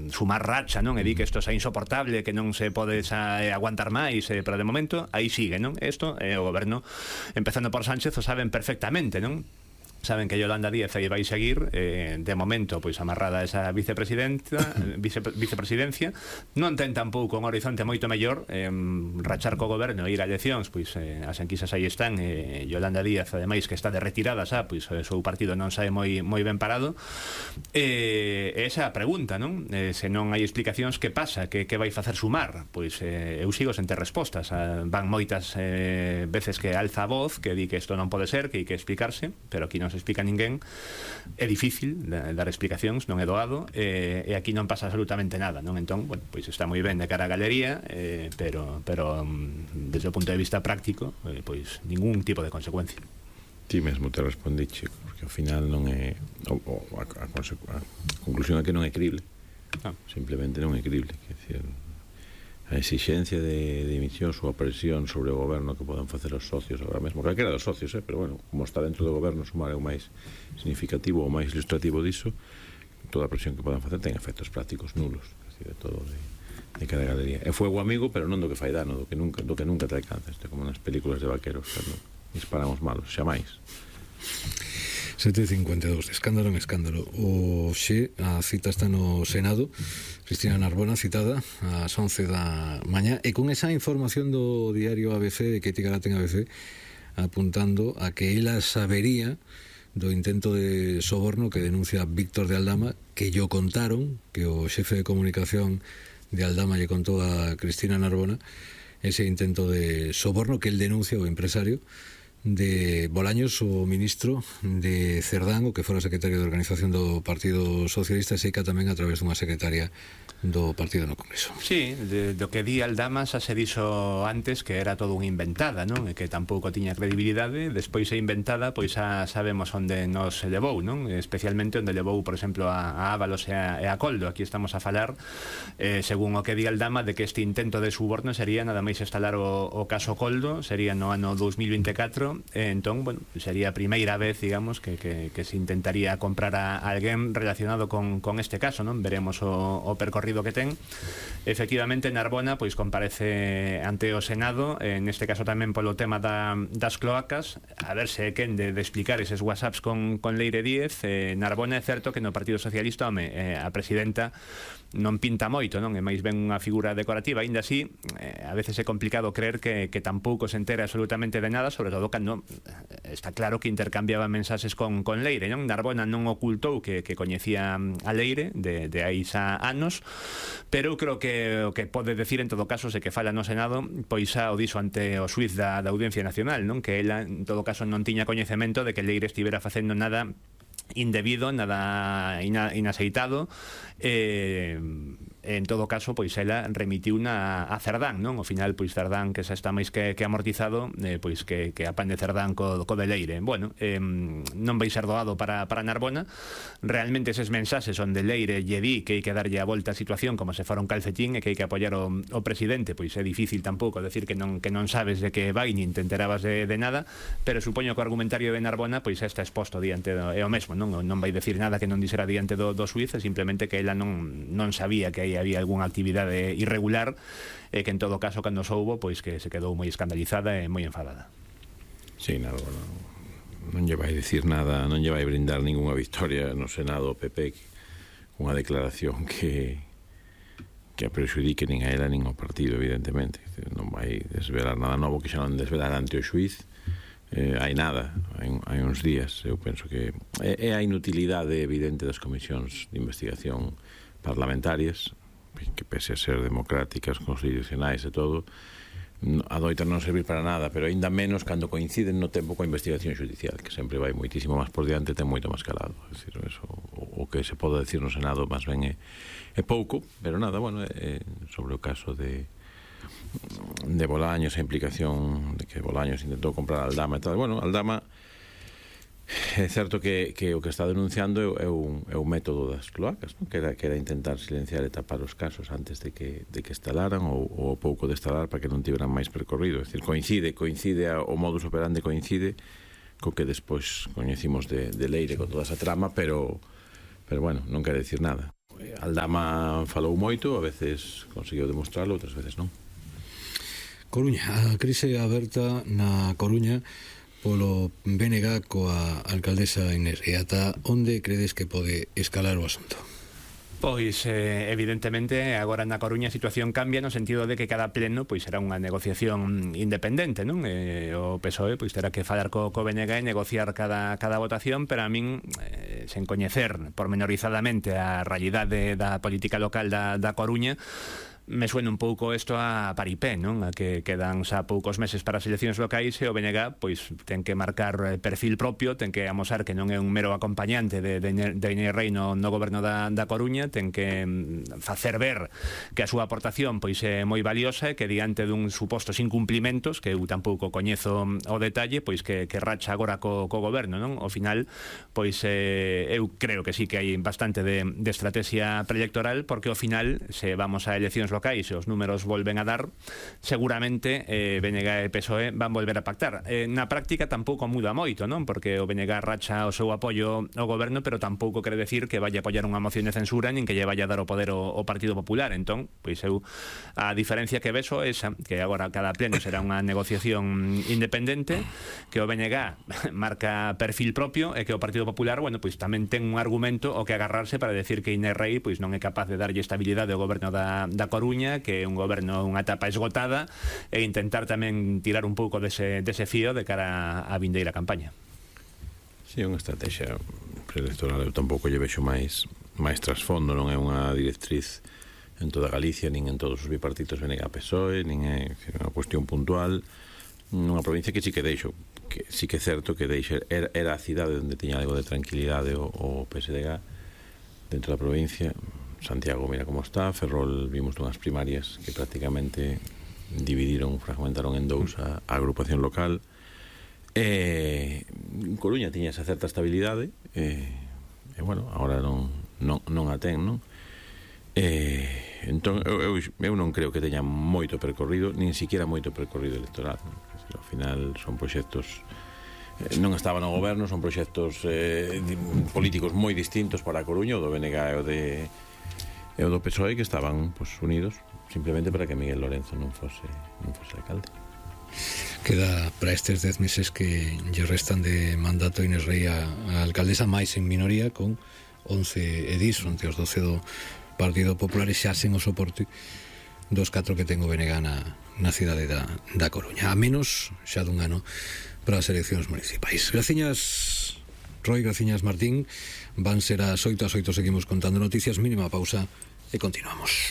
sumar racha, non? E di que isto é insoportable, que non se pode aguantar máis, pero de momento aí sigue, non? Isto o goberno, empezando por Sánchez, o saben perfectamente, non? Saben que Yolanda Díaz aí vai seguir, de momento pois amarrada a esa vicepresidencia. Non ten tampouco un horizonte moito mellor, rachar co goberno e ir a eleccións, pois as enquisas aí están, Yolanda Díaz ademais que está de retirada xa, pois o seu partido non sae moi ben parado, esa a pregunta, non? Se non hai explicacións, que pasa? Que vai facer Sumar? Pois eu sigo sen ter respostas, van moitas veces que alza a voz, que di que isto non pode ser, que hai que explicarse, pero aquí non se explica ninguén, é difícil dar explicacións, non é doado, e aquí non pasa absolutamente nada, non? Entón, bueno, pois está moi ben de cara a galería, pero desde o punto de vista práctico, pois ningún tipo de consecuencia. Ti mesmo te respondiche, porque ao final non é a conclusión é que non é creíble, simplemente non é creíble, quer dizer, a exixencia de dimisión ou a presión sobre o goberno que poden facer os socios agora mesmo, calquera dos socios, pero bueno, como está dentro do goberno, Sumar é o máis significativo ou máis ilustrativo diso, toda a presión que poden facer ten efectos prácticos nulos, de todo de cada galería. É fuego amigo, pero non do que fai dano, do que nunca te alcanza, isto como nas películas de vaqueros, cando disparamos malos, xa máis. 7:52, escándalo en escándalo. Hoxe a cita está no Senado, Cristina Narbona citada ás 11 da mañá, e con esa información do diario ABC, de que Tigarate en ABC, apuntando a que ela sabería do intento de soborno que denuncia Víctor de Aldama, que yo contaron, que o xefe de comunicación de Aldama lle contou a Cristina Narbona, ese intento de soborno que el denuncia, o empresario de Bolaños, o ministro de Cerdán, o que fora secretario de organización do Partido Socialista, e seica tamén a través dunha secretaria do partido no Congreso. Sí, do que di Aldama xa se dixo antes que era todo unha inventada, non? E que tampouco tiña credibilidade. Despois é inventada, pois xa sabemos onde nos levou, non? Especialmente onde levou, por exemplo, a Ábalos e a Coldo. Aquí estamos a falar, según o que di Aldama, de que este intento de suborno sería nada máis instalar o caso Coldo, sería no ano 2024. Entón, bueno, sería a primeira vez, digamos, que se intentaría comprar a alguén relacionado con este caso, non? Veremos o percorrido que ten. Efectivamente, Narbona pois comparece ante o Senado, neste caso tamén polo tema das cloacas, a ver se é quen de explicar eses whatsapps con Leire Díez. Narbona é certo que no Partido Socialista, a presidenta non pinta moito, non? É máis ben unha figura decorativa, aínda así a veces é complicado creer que tampouco se entera absolutamente de nada, sobre todo cando está claro que intercambiaba mensaxes con Leire, non? Narbona non ocultou que coñecía a Leire de aí xa anos, pero eu creo que o que pode decir en todo caso, se que fala no Senado, pois xa o dixo ante o xuiz da Audiencia Nacional, non? Que ela en todo caso non tiña coñecemento de que Leire estivera facendo nada indebido, nada inaceitado. En todo caso, pois ela remitiuna a Cerdán, non? Ao final, pois Cerdán, que xa está máis que amortizado, pois que apan de Cerdán co de Leire. Bueno, non vai ser doado para Narbona. Realmente eses mensaxes onde Leire lle di que hai que darlle a volta a situación como se fora un calcetín e que hai que apoiar o presidente, pois é difícil tampouco decir que non sabes de que vai, nin te enterabas de nada, pero supoño que o argumentario de Narbona pois está exposto diante é o mesmo, non vai decir nada que non dixera diante do xuiz, simplemente que ela non sabía que aí había algunha actividade irregular, e que en todo caso cando soubo, pois que se quedou moi escandalizada e moi enfadada. Sí, nada, non lle vai dicir nada, non lle vai brindar ninguna victoria no Senado o PP, unha declaración que a perxudique nin a ela nin ao partido, evidentemente. Non vai desvelar nada novo que xa non desvelar ante o xuiz. Hai nada, hai uns días. Eu penso que é a inutilidade evidente das comisións de investigación parlamentarias, que pese a ser democráticas, constitucionais e todo, adoitan non servir para nada, pero aínda menos cando coinciden no tempo coa investigación judicial, que sempre vai moitísimo máis por diante, ten moito máis calado. É dicir, eso, o que se pode decir no Senado máis ben é pouco, pero nada, bueno, sobre o caso de Bolaños, a implicación de que Bolaños intentou comprar a Aldama e tal. Bueno, Aldama é certo que o que está denunciando é o método das cloacas, non? Que era intentar silenciar e tapar os casos antes de que estalaran, ou pouco de estalar para que non tiveran máis percorrido. É dicir, coincide o modus operandi coincide co que despois coñecimos de Leire con toda esa trama, pero bueno, non quere decir nada. Aldama falou moito, a veces conseguiu demostrarlo, outras veces non. Coruña, a crise aberta na Coruña polo BNG coa alcaldesa Inés, e ata onde credes que pode escalar o asunto? Pois, evidentemente, agora na Coruña a situación cambia no sentido de que cada pleno pois será unha negociación independente, non? O PSOE pois terá que falar co BNG e negociar cada votación, pero a min, sen coñecer pormenorizadamente a realidade da política local da Coruña, me suena un pouco isto a paripé, non? A que quedan xa poucos meses para as eleccións locais e o BNG pois ten que marcar perfil propio, ten que amosar que non é un mero acompañante de Inés Rei no goberno da Coruña, ten que facer ver que a súa aportación pois é moi valiosa e que diante dun supostos incumplimentos, que eu tampouco coñezo o detalle, pois que racha agora co goberno, non? Ao final, pois eu creo que sí que hai bastante de estrategia preelectoral, porque ao final, se vamos a eleccións locais e os números volven a dar, seguramente BNG e PSOE van volver a pactar. Na práctica tampouco muda moito, non? Porque o BNG racha o seu apoio ao goberno, pero tampouco quere decir que vaya a apoiar unha moción de censura nin que lle vaya a dar o poder ao Partido Popular. Entón, pois eu, a diferencia que vexo é esa, que agora cada pleno será unha negociación independente, que o BNG marca perfil propio e que o Partido Popular, bueno, pois tamén ten un argumento ao que agarrarse para decir que Inés Rei pois non é capaz de darlle estabilidade ao goberno da Coruña, que é un goberno, unha etapa esgotada, e intentar tamén tirar un pouco dese fío de cara á vindeira campaña. Si, é unha estrategia preelectoral. Eu tampouco lle vexo máis trasfondo, non é unha directriz en toda Galicia, nin en todos os bipartitos BNG PSOE, nin é unha cuestión puntual nunha provincia que sí que deixo, que sí que é certo que era a cidade onde tiña algo de tranquilidade o PSDG dentro da provincia. Santiago, mira como está. Ferrol, vimos unhas primarias que prácticamente fragmentaron en dous a agrupación local. Coruña tiña esa certa estabilidade, bueno, agora non a ten, non? Entón, eu non creo que teña moito percorrido, nin siquiera moito percorrido electoral, non? Ao final son proxectos, non estaban no goberno, son proxectos políticos moi distintos para a Coruña, o do BNG e o do PSOE, que estaban pues, unidos simplemente para que Miguel Lorenzo non fose alcalde. Queda para estes 10 meses que lle restan de mandato Inés Rei a alcaldesa, máis en minoría, con 11 edís fronte aos 12 do Partido Popular, e xa sen o soporte dos 4 que ten o BNG na cidade da Coruña, a menos xa dun ano para as eleccións municipais. Graciñas Roy, graciñas Martín. Van ser as 8 seguimos contando noticias, mínima pausa e continuamos.